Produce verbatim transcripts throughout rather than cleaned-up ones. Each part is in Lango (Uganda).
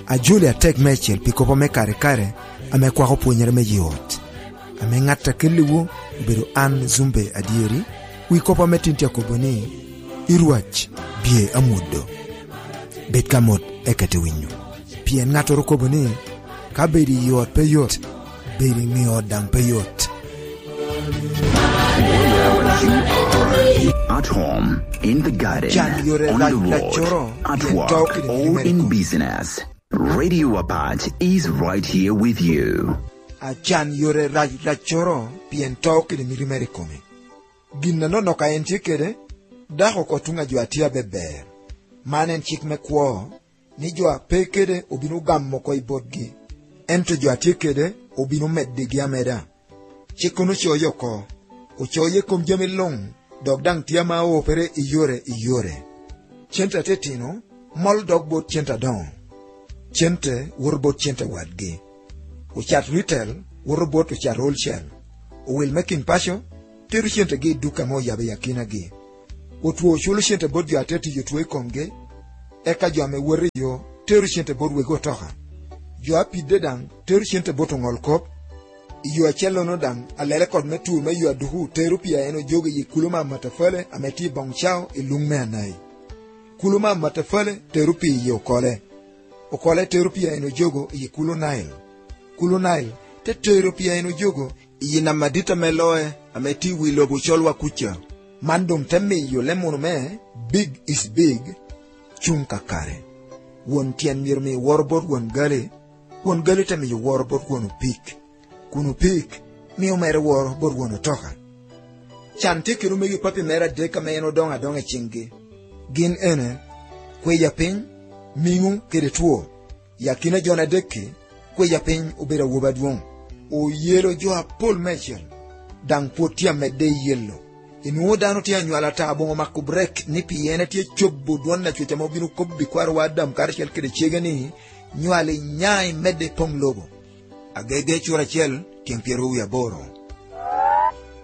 Ajoli atek meicel pi kop ame kare kare ame kwako pwonyere me yi ot. Ame ŋat a kelliwu obedo an, Zumbe Adyeri, wi kop ame tin tye akobo ni, "I Rwac bye amwodo." Bed ka mot eka ite winyo. Pien ŋattoro kobo ni, "Ka bedo i ot pe yot, bedo i ŋe ot daŋ pe yot." At home, in the garden, Can yore on the road, at work, or in business. Radio Apac is right here with you. Acan yore rac raccoro pien to kede miti mere i kome. Gin anonok a en tye kede, dako oko tuŋ a jo a tye abeber. Man en cik me kwo, ni jo a pe kede obino gamo oko i botgi, ento jo a tye kede obino meddigi ameda. Cik kono ocoyo oko, ocoyo i kom jami luŋ, dok daŋ tye ama opere i yore i yore. Cente atetino mol dok bot cente adoŋo. Cente woto bot cente wadgi. Ocat retail woto bot ocat wholesale. Owil me kin paco tero centegi i duk ame oyabo i akinagi. Otwo oculo cente bot jo a te tiyo two i komgi, eka jo ame woto i yo tero cente bot wegi otoka. Jo a pidde daŋ tero cente bot oŋol kop. I yo acellono daŋ, alele kot me tur me yo aduku tero pii a en ojogo i kulo me amatafale ame tye i boŋ cao i luŋ me Anai. Kulo me amatafale tero pii i Okole. Okole tero pii a en ojogo i kulo Nile. Kulo Nile te tero pii a en ojogo i nam adit ame loe ame tye i wi lobo colwa kuca. Man doŋ te miyo leb munu me "Big is big" cuŋ kakare. Won tyen myero mi woro bot won gali, won gali te miyo woro bot won opik, kun opik mio mere woro bot won otoka. Can tye kede omego papi mere adek ame en odoŋo adoŋa i ciŋgi. Gin ene, kweya piny, miŋo kede two. I akina jo-ni adek-ki, kweya piny obedo awobi adwoŋ. Oyelo jo apol meicel, daŋ pwod tye amedde i yelo. Inwoŋo dano tye anywalo ata aboŋo mako brek ni pien etye cobo dwon Acwec ame obino kobbi kwarowa Adam karacel kede cege ni, "Nywal inya imedde i poŋ lobo." Agege cura acel tyen pyeraryo wie aboro.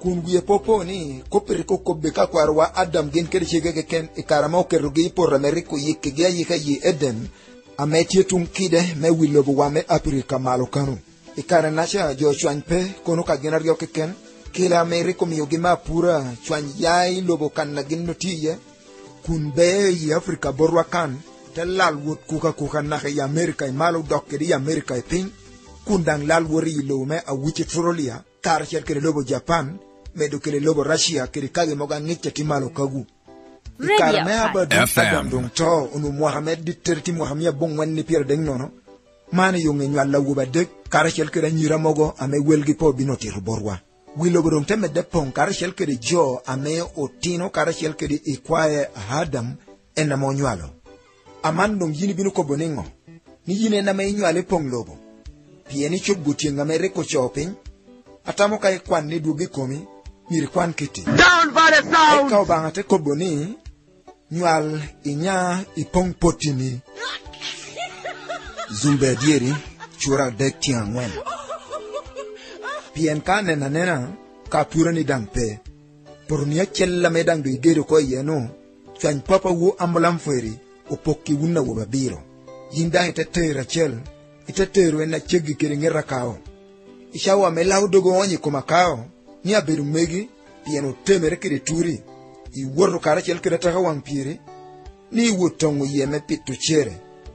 Kun wie popo ni kop rik okobbe ka kwarowa Adam gin kede cege keken i kare ame oketogi i poto ame rik oyikkigi ayika i Eden, ame tye tuŋ kide me wi lobowa me Apirika malo kano. I kare-naca jo ocwany pe kono ka gin aryo keken, kela ame rik omiogi me apura cwany ya i lobo kan a gin otye iye, kun bee i Afrika botwa kan, te lal wot kuka kuka naka i Amerika i malo dok kede i Amerika i piny, kun daŋ lal wot i lobo me Australia karacel kede lobo Japan, medo kede lobo Russia kede kagi mogo aŋic a tye malo kagu. I kare me Abadu, Adam doŋ to, onwoŋo mwaka me dittere tye mwaka mia aboŋwen ni pyeradek nono. Man i yo ŋe nywal awobe adek karacel kede anyira mogo ame welgi pe obino tito botwa. Wi lobo doŋ te medde poŋ karacel kede jo ame otino karacel kede ikwae a Adam en ame onywalo. Aman doŋ yin ibino kobo niŋo? Ni yin en ame inywalo i poŋ lobo? Pien icobo tyeŋ ame rik ocoo piny? Atamo ka ikwan ni dwoggi i komi, myero ikwan kitti. Eka Obaŋa te kobo ni, "Nywal inya i poŋ pottini." Zumbe adyeri, cura adek tyeŋ aŋwen. Pien ka aneno anena, ka apurani daŋ pe. Poto-ni acel ame daŋ doŋ igedo oko iye-nu, cwany papawu Amulam Fweri opokki wun awobe abiro. Yin daŋ ite tero acel, ite tero en aceggi kede ŋet akao. I cawa ame lao dogo oonyo i kom akao, ni abedo megi, pien otemere kede turi, iwoto karacel kede ataka waŋ pyeri, ni iwot toŋo yie me pito cere,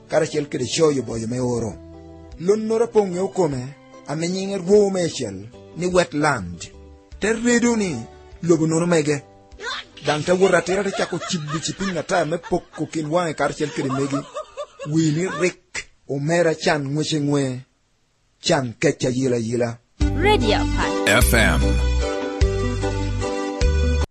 karacel kede coyo boyo me oro. Lonnoro apoŋ ŋeo kome, ame nyiŋe rwoŋo meicel ni Wetland, te redo ni lobo nono mege. Daŋ te wot atira te cako cibbi ci piny ata me poko kin waŋe karacel kede megi. Wii ni rik, omera can ŋwece ŋwe, can kec ayila ayila. Radio Apac. F M.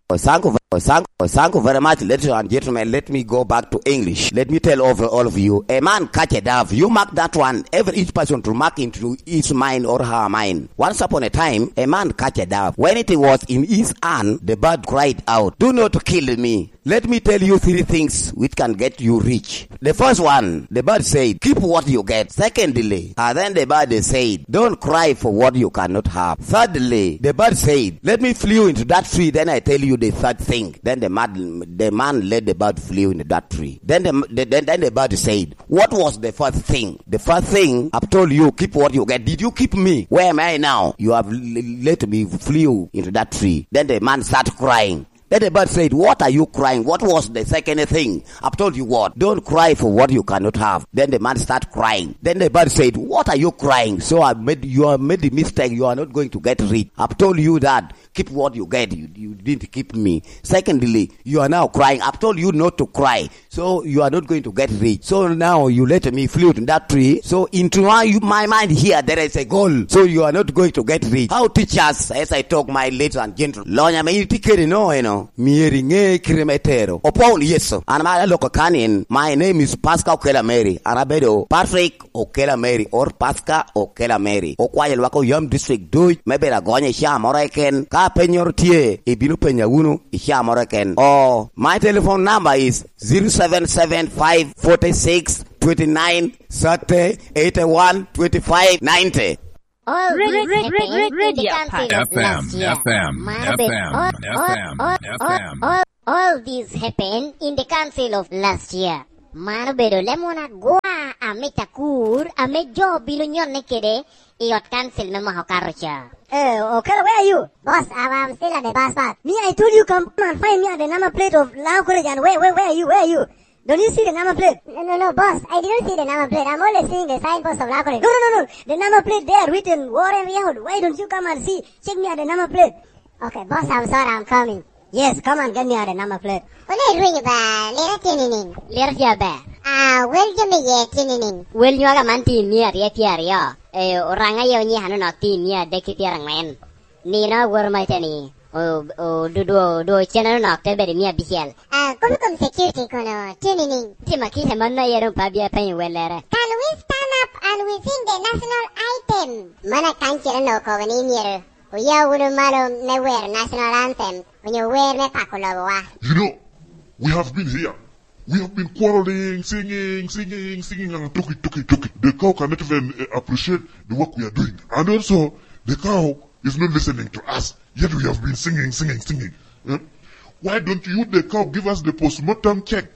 Oh, thank you, oh, thank, oh, thank you very much, ladies and gentlemen. Let me go back to English. Let me tell over all of you. A man catch a dove. You mark that one. Every each person to mark into his mind or her mind. Once upon a time, a man catch a dove. When it was in his hand, the bird cried out, "Do not kill me." Let me tell you three things which can get you rich. The first one, the bird said, "Keep what you get." Secondly, and then the bird said, "Don't cry for what you cannot have." Thirdly, the bird said, "Let me flew into that tree, then I tell you the third thing." thing." Then the man, the man let the bird flew in that tree. Then the, the, then, then the bird said, "What was the first thing?" "The first thing, I've told you, keep what you get. Did you keep me? Where am I now? You have l-, let me flew into that tree." Then the man started crying. Then the bird said, "What are you crying? What was the second thing? I've told you what? Don't cry for what you cannot have." Then the man started crying. Then the bird said, "What are you crying? So I made, you have made the mistake. You are not going to get rich. I've told you that. Keep what you get. You, you didn't keep me. Secondly, you are now crying. I've told you not to cry. So you are not going to get rich. So now you let me flew in that tree. So into my, my mind here, there is a goal. So you are not going to get rich." How teachers, as I talk, my ladies and gentlemen, lonya me itye kede no eno, myero iŋe kite me tero. Opwoo wunu Yecu. An ma aloko kanin, my name is Pascal Okela Mary. An abedo Patrick Okela Mary, or Pascal Okela Mary. Okwayo lwak Oyam District duc me bedo agonyo i caa moro keken. Ka pennyoro tye, ibino penya wunu i caa moro keken. Oh, my telephone number is zero seven seven five forty six twenty nine thirty eighty one twenty five ninety. All this happened in the council of last year. Mano be-, all, all, all, all, all this happened in the council of last year. Mano obedo lemon agwa ame Takur, ame jo obino nyonne kede i ot kancil me mwaka okato ca. Eh, Okelo, where are you? Boss, I'm, I'm still at the bus park. Me, I told you come and find me at the number plate of Lao College, and where, where, where are you? Where are you? Don't you see the number plate? No, no, no, boss, I didn't see the number plate. I'm only seeing the signpost of Lao College. No, no, no, no. The number plate there written Warren Road. Why don't you come and see? Check me at the number plate. Okay, boss, I'm sorry, I'm coming. Yes, come and get me at the number plate. Ole rwinyo ba, lera tye nining? Lera tye aber. Ah, wel jo me ye tye nining? Wel nywaga man tye i mia aryo tye aryo. Eh, Oraŋ aye onyika nonok tye i mia adek ki pyeraŋwen. Nino awoto ma ite ni, o-, o-, du-, du-, du-, ocene nonok te bedo i mia abicel. Ah, kop i kom security kono tye nining? Tye ma kite mano aye doŋ pe abia penyo wellere. Can we stand up and we sing the national item? Mano akancil onongo okobo ni myero oya wunu malo me wero national anthem, onyo wer me pako lobowa. You know, we have been here. We have been quarreling, singing, singing, singing, and talking, talking, talking. The cow cannot even, eh, appreciate the work we are doing. And also, the cow is not listening to us. Yet we have been singing, singing, singing. Eh? Why don't you, the cow, give us the postmortem check?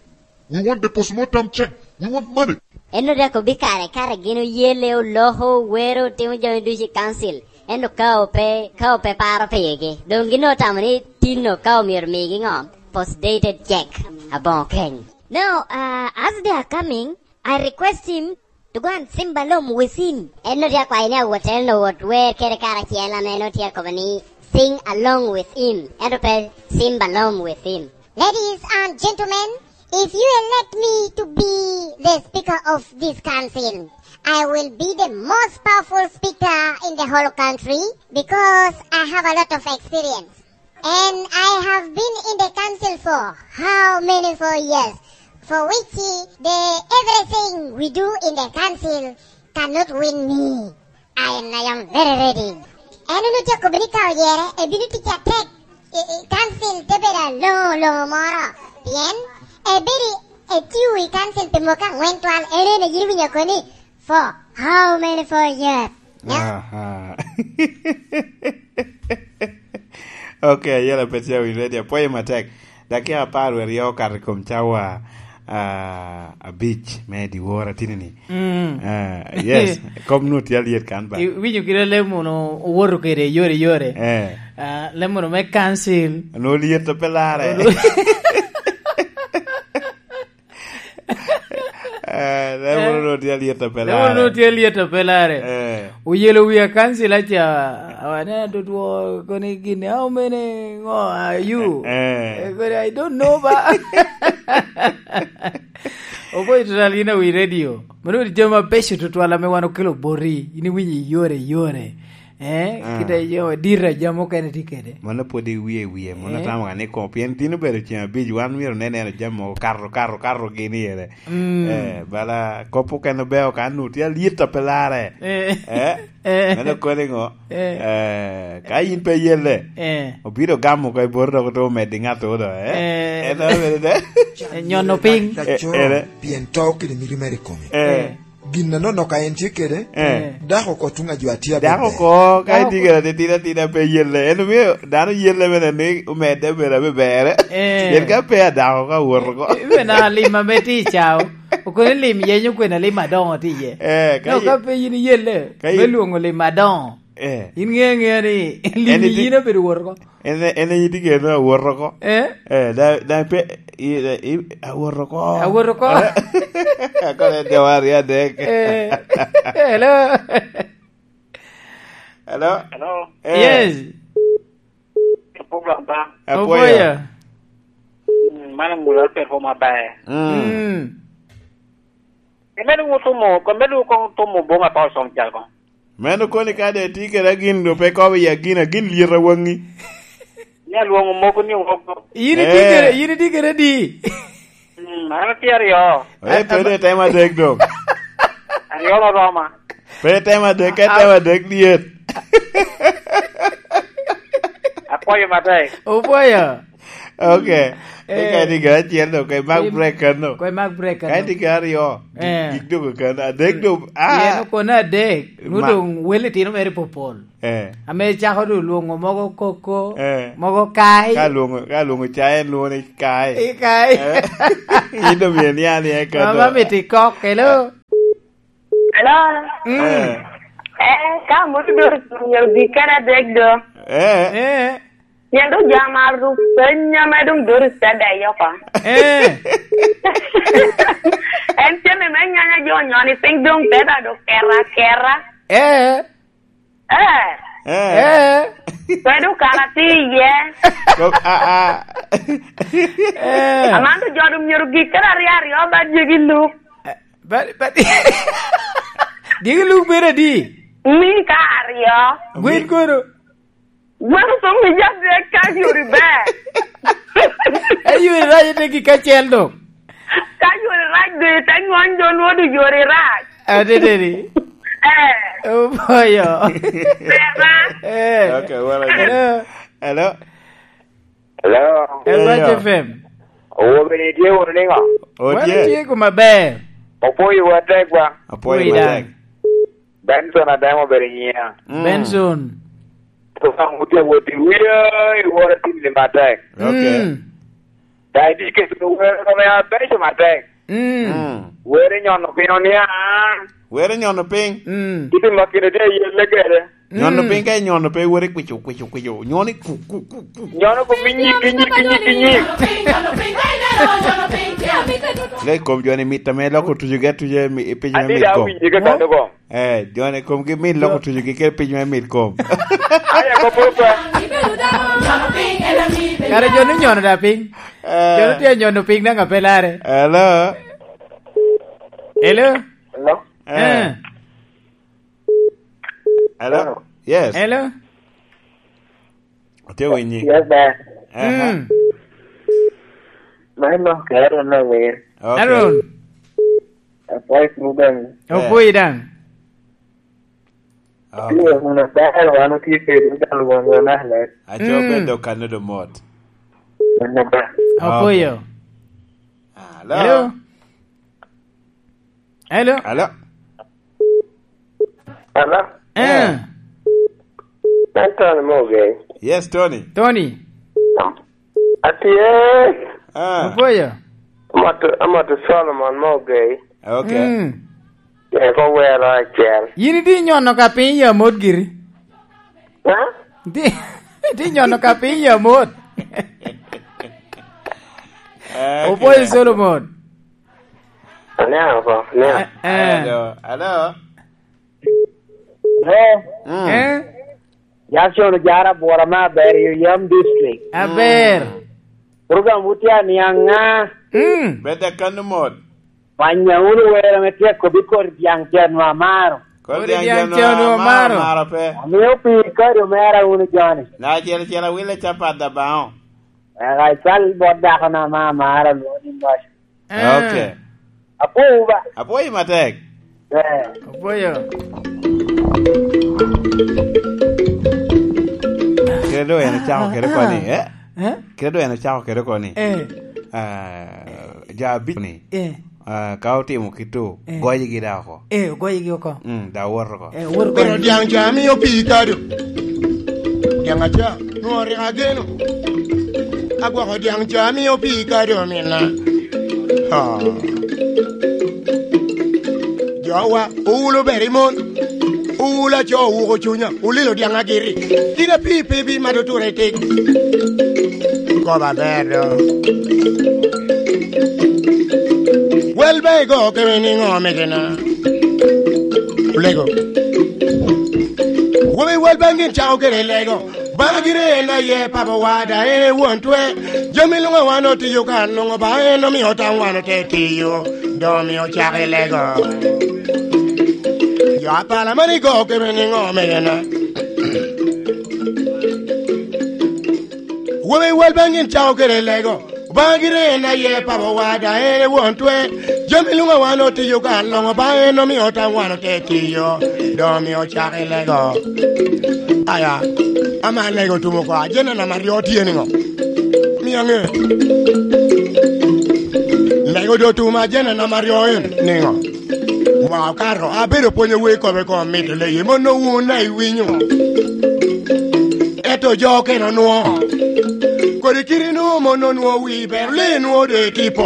We want the postmortem check. We want money. En oryeko bikare kare gin oyele, oloko, owero, otimo jami ducu i council. Ento ka ope, ka ope paro pigi, doŋ gin otamo ni tinno ka omyero migi ŋo? Postdated check. Aboŋo keny. Now, uh, as they are coming, I request him to go and sing along with him. En nongo tye akwayo ni awot, en owot wer kede karacel, ame en otye akobo ni sing along with him. Ento pe sing along with him. Ladies and gentlemen, if you elect me to be the speaker of this council, I will be the most powerful speaker in the whole country because I have a lot of experience. And I have been in the council for how many, four years, for which, eh, the everything we do in the council cannot win me. I am, I am very ready. En onwoŋo tye akobo ni ka oyere, ebino tic atek, i, i council te bedo aloŋo, aloŋo moro. Pien ebedo i, etiyo i council pi mwaka aŋwen twal, en, en iyini winyo koni, "For how many, four years?" Yeah. Aha. Ok, ayela pet ya wi ready, apwoyo matek. Dakika apar wer ya okato i kom cawa, ah, abic me dyewor atini ni. Mm. Ah, yes, kom nu tye alyet kan ba. I-, winyo kite lem mono owoto kede yore yore. Eh. Ah, lem mono me council. Nu lyet pe lare. Olu- Eh, lem mono nu tye alyet pe lare. Lem mono nu tye alyet pe lare. Eh. Oyelo wi akansila ca, awane adudwo koni gini, "How many, ngo, are you?" Eh. Eh, koni, "I don't know ba." Oboy total yin awi radio. Mano wadi jami mabeco tutwal ame wan okelo boti. Yin iwinyo i yore, i yore. Eh, ah, kite yo, dira jami mukene tye kede. Mano pwod iwie wie, mano, eh, atamo ka ni kom, pien tin obedo ceng abic, wan myero ne neno jami mogo kato, kato, kato gini ere. Mm. Eh, bala kop okene obeo ka nu tye alyet a pe lare. Eh. Eh? Eh. Meno koni ngo? Eh. Eh, ka in pe yelle, eh, obiro gamo ka i boro dok oto omeddi ŋat odo, eh? Eh. En abedo de. Eh, nyono piny. Eh, ere. Pien to kede miti mere i kome. Eh. Eh. Gin anono ka en tye kede, eh, dako oko tuŋ a jo atye abebe. Dako oko, ka itye kede atitidi atidi pe yelle. En omio dano yelle bene ni omedde bene abe berre. Eh. Pien ka pe adako ka wot oko. Ibe na lim ame tye i cao. Okono lim yenyo kwena lim adoŋo tye iye. Eh, ka no, ye-, ka pe yin iyelle, ka me ye-, lwoŋo lim adoŋo. Eh. In ŋe aŋea ni lim yin obedo wot oko. En, en itye kede awot oko. Eh? Eh, da, da pe, i, i, awot oko. Awot oko. Akono en jawar ya dek. Eh. Hello. Hello? Hello? Eh. Yes. Program ba. Apwoyo. Apwoyo. Mm, mano mula perform maber. Mm. Mm. Imedo wot tumo, ko medo kong tumo boma pa osong jal kong. Meno koni ka de tye kede agin, do pe kobo i agin, agin lyet awaŋi. Ni alwoŋo mogo ni woko. Yin itye kede, eh, yin itye kede di? Mm, an atye aryo. Eh, pe de tem adek dong. Aryo oroma. Pe tem adek, ka tem adek dyet. Apwoyo matek. Opwoyo. Ok. Eh. Eka ni ga acel dong, ka imak break kano. Ka imak break kano. Ka itye ga aryo, gik, eh, gik dong kano. Adek dong, ah. Pien okono adek, nwo dong wel itino mere popol. Eh. Ame cako dong lwoŋo mogo koko, eh, mogo kai. Ka lwoŋo, ka lwoŋo cai, en lwoŋo ni kai. I kai. Eh. In dong myero nia nia kano. Mama miti kok, hello. Hello? Mm. Eh. Eh, ka moto doro myero bi kede adek do. Eh. Eh. Pien dong jam aruk penya me dong doro tada i oko. Eh. En tye ni me nyanya jo nyoni piny dong te da do kera kera. Eh. Eh. Eh. Eh. Kwedo kara tye iye. Ko-, a, a. Eh. Aman to jo dong myero gik kede aryo aryo ba jegi luk. Eh, ba, ba, dyegi luk bedo adi? Ni ka aryo. Gwen kono? Gwen osom i jadek ka yori ber. E yori rac ite gik acel dong. Ka yori rac dong ite ŋony jo nwo dong yori rac. Adede ni. Eh. Oboyo. Beba. Eh. Okay, well, hello. Hello. Hello. Hello. Hello. F M. Owobe ni tye wunu niŋo? Otye. Wan tye kuma ber. Opwoyo wa tek ba. Opwoyo matek. Benson Ademo obedo nyiŋa. Mm. Benson. Okan wutye awot i wiye, i woro atimmi matek. Okay. Mm. Daŋ itye keto wero kome abeco matek. Mm. Mm. Wero inyono piny oniaŋ. Wero inyono piny. Mm. Kite ma kine tye ayelle kede. Nyono piny ka inyono pe, wero kwico, kwico, kwico. Nyoni ku, ku, ku, ku. Nyono kom inyik, inyik, inyik, inyik. Le kom joni mit ame loko tujo ge tujo mi, i piny me mit kom. Adi da winyi ka kano kom. Eh, joni kom gi mit loko tujo gi ke piny me mit kom. Aya ko popa. Kare joni nyono da piny. Eh. Joni tye nyono piny na ŋa pe lare. Hello. Hello. Hello. Eh. Eh. Hello? Hello? Yes. Hello? Atye winyi. Yes, sir. Aha. Mm. Man no, kero na wer. Okay. Aaron. Apwoyo program. Eh. Opwoyo daŋ. Okay. Atye kun adaro, wan otye kede dal won wan alet. Aco, mm, bedo kano do mot. Wan aba. Opwoyo. Okay. Hello? Hello? Hello? Hello? Hello? Eh. Eh. En Tony Mogei. Yes, Tony. Tony. Atye. Ah. Opwoyo. Amoto, amoto Solomon Mogei. Okay. Mm. Eko wero acel. Yin itye nyono ka piny ya mot giri. Ha? Itye, itye nyono ka piny ya mot. Okay. Opwoyo Solomon. Oniaŋ oko, oniaŋ. Eh, eh. Hello, hello. Hello. Mm. Eh? Jackson Ojara, Bwora me Aber, i Oyam District. Aber. Mm. Program wutye aniaŋ ŋa? Mm. Bedde kano mot. Panya wunu wero me tyeko bi kor dyaŋ cen wa amaro. Kor dyaŋ cen wa amaro, amaro pe. Amio pi kodi omera wunu joni. Na acel acel awile capat da baŋo. Eka ical bot dako na ma amaro lwongo ni Moc. Eh. Okay. Apwowu ba. Apwoyi matek. Eh. Apwoyo. Kede do en ocako kede koni, eh? Eh? Kede do en ocako kede koni. Eh. Ah, ja abic ni. Eh. Ah, ka otimo kito, eh, goyigi da oko. Eh, ogoyigi oko. Mm, da wot oko. Eh, wot. Pero goyigi. Dyaŋ ca mio pii kado. Dyaŋ aca, nwoŋo rik ageno. Agwoko dyaŋ ca mio pii kado mina. Ah. Jowa, owulo ber i mon. Owulo aco owuko cunya. Olilo dyaŋ agiri. Kin apii pe bi mato ture tik. Kop aber do. Wel ba igo keme niŋo megena? Olego. Wobi wel ba gin cako kede lego. Bana gire en aye papa wada en e won twe. Jami luŋ a wan otiyo kan luŋ ba en omio tam wan ote tiyo. Dong omio cak i lego. Jo apala mani go keme niŋo megena? Wobe wal baŋ gin cako kede lego. Obaŋa gire en aye papa wada en e won twe. Jami luŋ a wan otiyo kan loŋo ba en omio tam wan ote tiyo. Dong omio cak i lego. Aya, ama lego tumo kwa. Jena nama ryo tye niŋo? Mia ŋe. Lego do tuma jena nama ryo en niŋo? Wa okato, abedo pwonyo wer kobe kom mito leye, mono wun a iwinyo. Ento jo okene onwo. Kodi kiri nu mono onwo wi ber, le nwo de tipo.